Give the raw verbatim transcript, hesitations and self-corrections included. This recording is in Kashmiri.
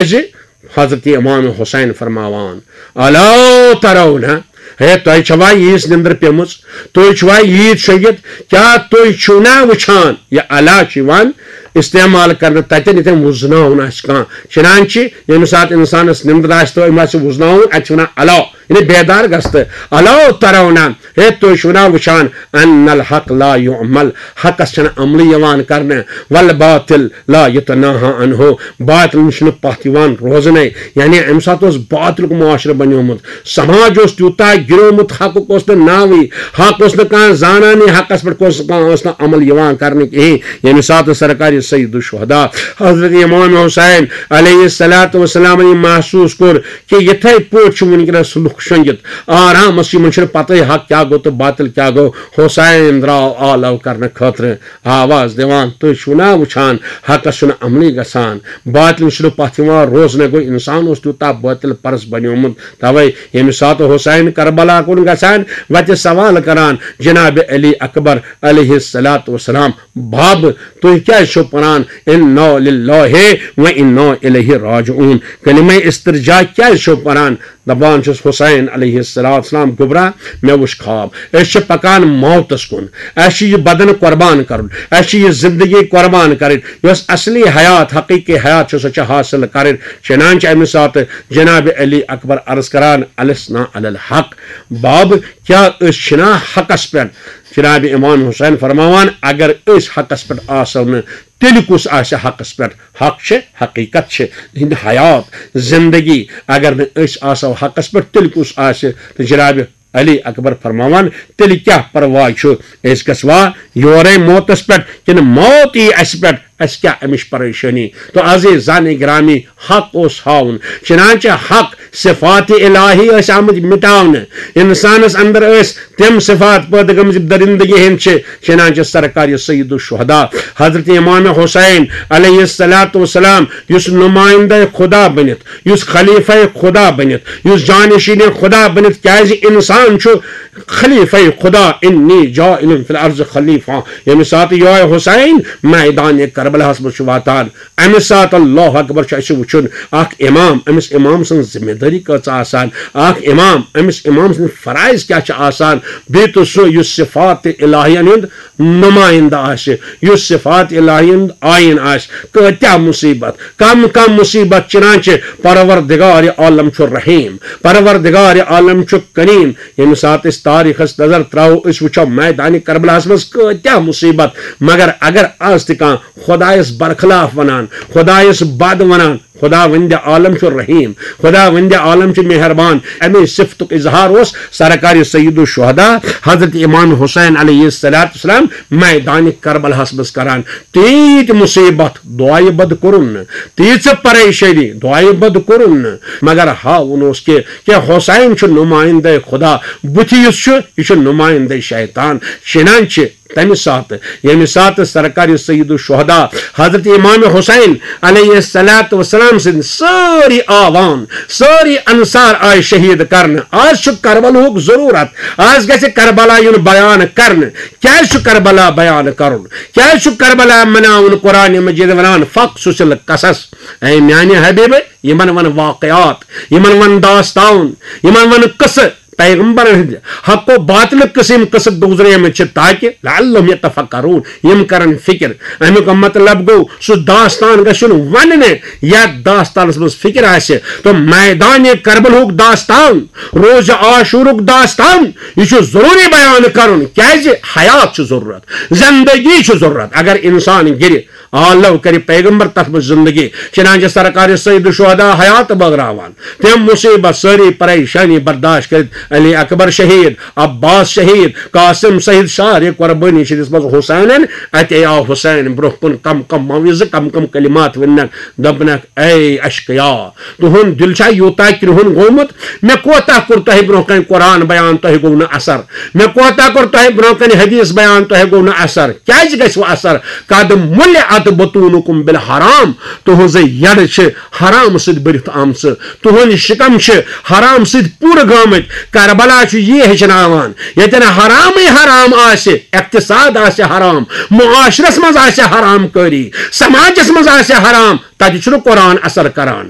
تِکیٛازِ حضرت امام حسین فرماوان، الا ترون، ہے، تۄہہِ چھوا ییٖژ نِندٕر پیٚمٕژ؟ تُہۍ چھِوا ییٖتۍ شۄنٛگِتھ؟ کیٛاہ تُہۍ چھِو نا وٕچھان؟ یہِ الا چھُ یِوان استعمال کرنہٕ تتٮ۪ن، ییٚتٮ۪ن وُزناوُن آسہِ کانٛہہ۔ چنانچہ ییٚمہِ ساتہٕ انسانس نِندٕر آسہِ تہٕ أمۍ آسہِ وُزناوُن، اتہِ چھِ ونان الا، یعنی بیدار گژھ تہٕ۔ الا ترون، ہے، تُہۍ چھِو نا وٕچھان، ان الحق لا یعمل، حقس چھنہٕ عملٕے یِوان کرنہٕ، والباطل لا یتناہا عنہ، باطل نِش چھُنہٕ پتھ یِوان روزنَے۔ یعنی اَمہِ ساتہٕ اوس باطلُک معاشرٕ بنیومُت، سماج اوس تیوٗتاہ گِریومُت، حقُک اوس نہٕ ناوٕے، حق اوس نہٕ کانٛہہ زانانٕے، حقس پٮ۪ٹھ اوس نہٕ کانٛہہ، اوس نہٕ عمل یِوان کرنہٕ کِہیٖنۍ۔ ییٚمہِ ساتہٕ سرکار سید الشہداء حضرت امام حسین علیہ الصلوۃ والسلام یہِ محسوٗس کوٚر کہِ یِتھَے پٲٹھۍ چھِ وٕنکیٚنَس لُکھ شۄنٛگِتھ، آرامس، یِمن چھُنہٕ پتہٕے حق کیٛاہ گوٚو تہٕ باطل کیٛاہ گوٚو۔ حسین درٛاو آلو کرنہٕ خٲطرٕ آواز دِوان، تُہۍ چھِو نا وٕچھان، حقس چھُنہٕ عملٕے گژھان، باطلس چھُنہٕ پتھ یِوان روزنہٕ۔ گوٚو، انسان اوس تیوٗتاہ باطل پرس بنیومُت۔ توے ییٚمہِ ساتہٕ حسین کربلا کُن گژھان، وتہِ سوال کران جناب علی اکبر علیہ الصلوۃ والسلام، بب، تُہۍ کیٛازِ چھِو پران انا للہ و انا الیہ راجعون؟ کلمہ استرجاع کیٛازِ چھِو پران؟ دپان چھِس، حسین علیہ الصلوۃ والسلام، گوٚبرا، مےٚ وُچھ خواب۔ أسۍ چھِ پکان موتس کُن۔ اَسہِ چھُ یہِ بدن قربان کرُن۔ اَسہِ چھِ یہِ زندگی قربان کرٕنۍ۔ یۄس اصلی حیات، حقیقی حیات چھِ، سۄ چھِ حاصل کرٕنۍ۔ چنانچہ اَمہِ ساتہٕ جناب علی اکبر عرض کران، السنا علی الحق، بب، کیٛاہ أسۍ چھِنا حقس پٮ۪ٹھ؟ جناب امام حسین فرماوان، اگر أسۍ حقس پٮ۪ٹھ آسو نہٕ، تیٚلہِ کُس آسہِ حقس پٮ۪ٹھ؟ حق چھِ، حقیقت چھِ، یِہنٛدِ حیات، زندگی۔ اگر نہٕ أسۍ آسو حقس پٮ۪ٹھ، تیٚلہِ کُس آسہِ؟ تہٕ جناب علی اکبر فرماوان، تیٚلہِ کیٛاہ پرواے چھُ؟ أسۍ گژھوا یورے موتس پٮ۪ٹھ، کِنہٕ موت یی اسہِ پٮ۪ٹھ؟ اسہِ کیٛاہ امِچ پریشٲنی؟ تو عزیزان گرامی، حق اوس ہاوُن۔ چنانچہ حق، صفات الہی ٲسۍ آمٕتۍ مٹاونہٕ۔ انسانس اندر ٲسۍ تِم صفات پٲدٕ گٔمٕتۍ یِم درندگی ہٕنٛدۍ چھِ۔ چنانچہ سرکار سید الشہداء حضرت امام حسین علیہ الصلوۃ والسلام، یُس نمائندہ خدا بٔنِتھ، یُس خلیفہ خدا بٔنِتھ، یُس جانشین خدا بٔنِتھ، کیازِ انسان چھُ خلیفہ خدا، انی جاعل فی الارض خلیفہ۔ ییٚمہِ ساتہٕ یہوے حسین میدان کربلاہس منٛز چھُ واتان، امہِ ساتہٕ، اللہ اکبر، چھُ اسہِ وٕچھُن اکھ امام، أمِس امام سٕنٛز ذمہ دٲری کۭژاہ آسان، اکھ امام، أمِس امام سٕنٛدۍ فرائض کیٛاہ چھِ آسان، بیٚیہِ تہٕ سُہ یُس صفات الہین ہُنٛد نمائندہ آسہِ، یُس صفات الہین ہُنٛد آیین آسہِ، کۭتیاہ مصیبت، کم کم مصیبت۔ چنانچہ پروردگار عالم چھُ رحیم، پروردگار عالم چھُ کریم۔ ییٚمہِ ساتہٕ أسۍ تاریخس نظر تراوو، أسۍ وٕچھو میدان کربلاہس منٛز کۭتیاہ مصیبت، مگر اگر آز تہِ کانٛہہ خدایس برخلاف ونان، خدایس بد ونان، خداوند عالم چھُ رحیم، خداوند عالم چھُ مہربان۔ امی صفتُک اظہار اوس سرکار سید الشہداء حضرت امام حسین علیہ الصلوۃ والسلام میدان کربلاہس منٛز کران۔ تیٖتۍ مصیبت، دعایہِ بد کوٚرُن نہٕ، تیٖژ پریشٲنی، دعایہِ بد کوٚرُن نہٕ، مگر ہاوُن اوس کہِ، کہِ حسین چھُ نمائندہ خدا، بُتھِ یُس چھُ، یہِ چھُ نمائندہ شیطان۔ چنانچہ تمہِ ساتہٕ، ییٚمہِ ساتہٕ سرکار سید الشہداء حضرت امام حسین علیہ الصلوۃ والسلام سٕنٛدۍ سٲری آوان، سٲری انصار آیہِ شہید کرنہٕ۔ آز چھُ کربلاہُک ضروٗرت، آز گژھِ کربلا یُن بیان کرنہٕ۔ کیازِ چھُ کربلا بیان کرُن؟ کیازِ چھُ کربلا مناوُن؟ قرآن مجید ونان، فقصص القصص، اے میانہِ حبیبہٕ، یِمن ون واقعات، یِمن ون داستان، یِمن ون قصہٕ۔ پیغمبرن ہٕنٛدِ حق و باطلٕکۍ قٕسم قٕصہٕ گُزریمٕتۍ چھِ، تاکہِ لعلہم یتفکرون، یِم کرن فکر۔ امیُک مطلب گوٚو، سُہ داستان گژھِ یُن وننہٕ، یتھ داستانس منٛز فکر آسہِ۔ تہٕ میدان کربلہُک داستان، روزِ عاشورُک داستان، یہِ چھُ ضروٗری بیان کرُن، کیازِ حیات چھُ ضروٗرت، زندگی چھُ ضروٗرت۔ اگر انسان گرِ، آلو کرِ پیغمبر تتھ منٛز زندگی۔ چنانچہ سرکار سید الشہداء حیات بٲگراوان، تِم مصیبت، سٲری پریشانی برداشت کٔرِتھ، علی اکبر شہید، عباس شہید، قاسم شہید، سارے قربٲنی چھِ دِژمٕژ حسینن۔ اتے آو حسین برونٛہہ کُن، کم کم موعظہٕ، کم کم کلمات ؤننکھ، دوٚپنکھ، اے اشقیا، تُہُنٛد دِل چھا یوٗتاہ کرٛہُن گوٚمُت؟ مےٚ کوتاہ کوٚر تۄہہِ برونٛہہ کنہِ قرآن بیان، تۄہہِ گوٚو نہٕ اثر؟ مےٚ کوتاہ کوٚر تۄہہِ برونٛہہ کنہِ حدیث بیان، تۄہہِ گوٚو نہٕ اثر؟ کیازِ گژھِ وۄنۍ اثر؟ قد مُلِعَ بطونکم بالحرام، تُہنٛزٕ یڈٕ چھِ حرام سۭتۍ بٔرِتھ آمژٕ، تُہنٛدۍ شِکم چھِ حرام سۭتۍ پوٗرٕ گٲمٕتۍ۔ کربلا چھُ یی ہیٚچھناوان، ییٚتٮ۪ن حرامٕے حرام آسہِ، اقتصاد آسہِ حرام، معاشرس منٛز آسہِ حرام کٲری، سماجس منٛز آسہِ حرام، تتہِ چھُنہٕ قرآن اثر کران،